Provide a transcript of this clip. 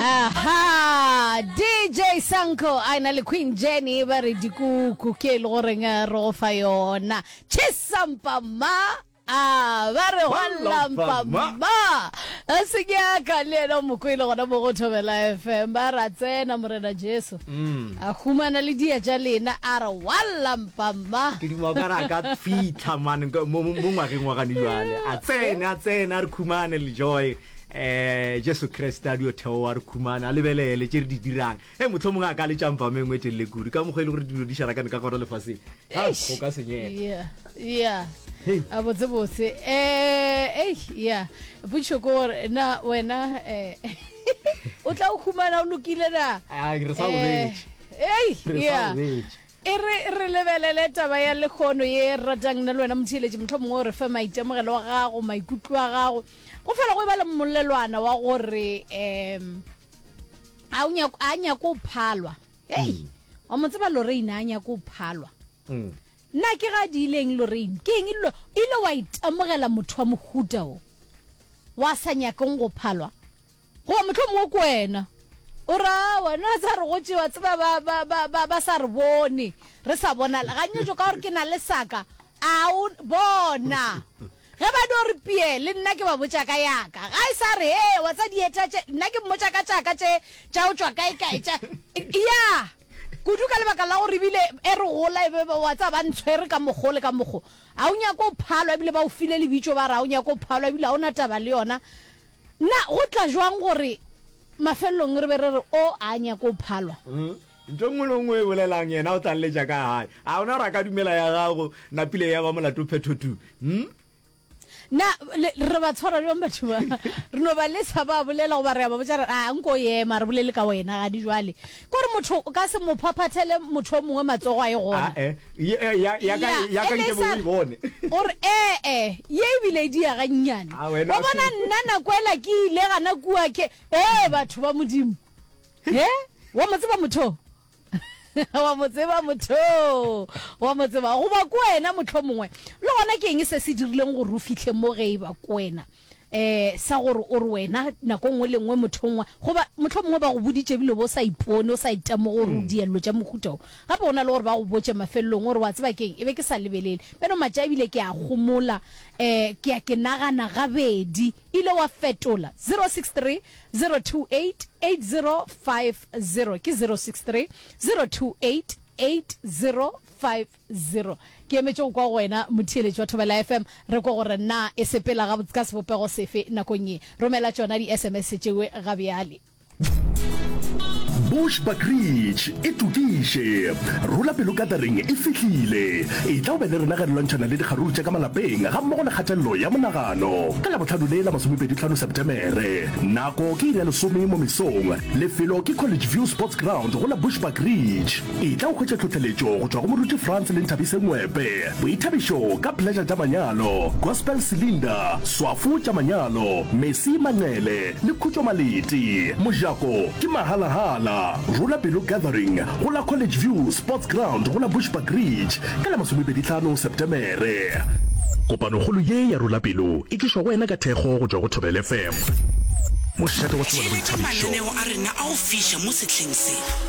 Aha, DJ Sanko a na le Queen Jenny ba re dikuku ke e le goreng eh, re go fa yona. Chisampa ma a ba re gwa ma a se nyaka le yena o mo kwele gona mo go Thobela FM ba ra tsena morena Jesu mm. a humana le dia tša lena a re wallampa ma ke duma ka re a ka fitlha mane mo ngwageng wa gane jwale a tsene a tsene a re khumane le joy eh Jesu Kriste a dio theoa re khumane a lebelele tše re di dirang e motlho mongwe a ka le tšampa mengwe e telele kudu ka mokgwa e le gore dilo di šarakane ka gona lefaseng ha go ka senyega yeah yeah a botse botse eh ei yeah potšo ke gore na wena eh o tla o khumana o lokile na a re sa boletše ei yeah E re re lebelele taba ya lehono ye re ratang nna le wena motheeletši, mohlomongwe o re fe maitemogelo a gago, maikutlo a gago. Go fela go e ba le mmolelwana wa gore um a o nyako a nyako o phalwa. Hei, mm. wa mo tseba Lorraine a nyako o phalwa. Mm. Nna ke ga di ileng Lorraine, ke eng ile ile wa itemogela motho wa mohuta o wa sa nyakeng go phalwa? Goba mohlomongwe ke wena o re, Aowa, nna sa re gotše, wa tseba, ba, ba, ba, ba, ba sa re bone, re sa bonala. Ganyetšo ka gore ke na le saka, a o bona. Ge ba dio re pie, le nna ke ba botša ka yaka. Ga e sa re, Hee, wa tsa dieta tše, nna ke mmotša ka tšaka tše, tša go tšwa kae-kae, tša, ya, kudu ka lebaka la gore ebile e re gola e be, wa tseba, ba ntshwere ka mokgo le ka mokgo. A o nyake go phalwa, ebile ba o file lebitšo ba re a o nyake go phalwa, ebile ga o na taba le yona. Na go tla jwang gore mafelelong re be re re o a nyake go phalwa? Ntho e nngwe le nngwe e bolelang yena o tla lletša ka gae. A ona gore a ka dumela ya gago napile ya ba molato phetho tu? Hm? Na le, re ba tshwara bjang batho ba? Re no ba lesa ba bolela goba re a ba botša re, a nko ema re bolele ka wena gadi jwale. Ke gore motho o ka se mo phaphathele motho o mongwe matsogo a ye gona. Ae, ye, eh, ya, ya ka, Ya, ya ka e nke le bo sa o e bone. gore ee, ye ebile e dia gannyane. A wena Wa bona nna nako ela ke ile gana kua ke, ee batho ba Modimo. He? Wa mo tseba motho? Wa mo tseba motho? Wa mo tseba? Goba ke wena mohlomongwe. Le gona ke eng se se dirileng gore o fihle mo ge e ba ke wena? um sa gore o re wena nako nngwe le nngwe motho nngwe goba mohlomongwe ba go boditše ebile bo sa ipone o sa itemoge gore o mm. diello tša mohuta o gape go na le gore ba go botše mafelelong gore wa tseba keng e be ke sa lebelele beno matša ebile ke a gomola um ke ya ke nagana gabedi ile wa fetola 063 028 8050 ke 063 028 8050 0. Ke emetše go kwa go wena motheeletši wa Thobela FM, re kwe gore na e sepela gabotse ka sebopego sefe nakong ye. Romela tšona di-SMS tšewe ga bjale. Bushbuckridge e tokiše. Rola pelo gathering e fihlile. Etla o be le rena ge re lwantšhana le dikgaruru tša ka malapeng gammogo le kgatelelo ya monagano. Ka Labohlano le la masomepedihlano Setemere. Nako ke iri ya lesome mo mesong. Lefelo ke College View Sports Ground go la Bushbuckridge. Etla o hwetše tlhohleletšo go tšwa go Moruti Frans le Nthabise Ngwepe. Boithabišo ka Pleasure tša Manyalo, Gospel Cylinder, Swafo tša Manyalo, Mercy Manqele le Khutšo Maleti. Mojako ke mahalahala. Rola Pelo Gathering go la College View Sports Ground go la Bushbuckridge ka la masomepedihlano Setemere. Kopanokgolo ye ya Rola Pelo e tlišwa go wena ka thekgo go tšwa go Thobela FM, mošate wa tsebo le Theeletša boithabišo. mananeo a rena a go fiša mo sehleng se.